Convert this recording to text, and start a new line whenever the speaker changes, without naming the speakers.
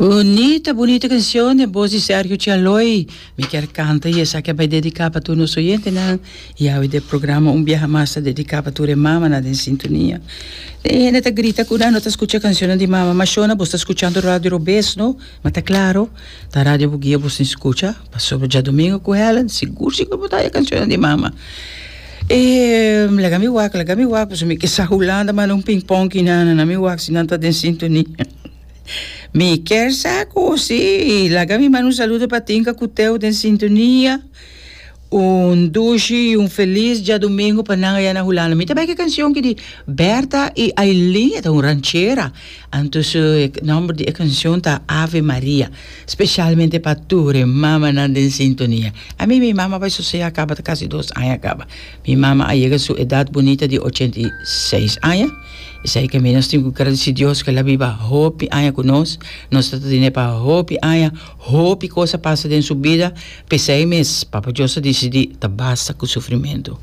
Bunita bunita cancion den voz di Sergio Chaloy. Mi kier canta y esaki a bay dedica pa tur nos oyentenan y awe den programa un biaha mas ta dedica pa tur e mamanan den sintonia. E hende ta grita cu nan no ta scucha cancionnan di mama. Ma shona bo sta scuchando radio robes no? Ma ta claro ta radio Bugia bo sin scucha pasobra djadomingo cu Helen sigur sigur bo ta haya cancionnan di mama. E laga mi wak laga mi wak pasobra mi ke sa Hulanda manda un ping pong kinan na mi wak si nan ta den sintonia. Mi kier sa cu si laga mi manda un saludo pa Tinka cu Teo den sintonia. Un dushi y un feliz djadomingo pa nan aya na Hulanda. Mi ta bay cu e cancion ki di Bertha y Aileen, e ta un ranchera. Anto su nomber di e cancion ta Ave Maria. Specialmente pa tur e mamanan den sintonia. Ami mi mama bay sosega caba ta casi dos aña caba. Mi mama a yega su edad bunita di 86 aña. Esei ke mi nos tin ku gradisi Dios ku el a biba hopi aña ku nos. Nos ta tene pa hopi aña, hopi kos a pasa den su bida. P'esei mes Papa Dios a disidí ta basta ku sufrimentu.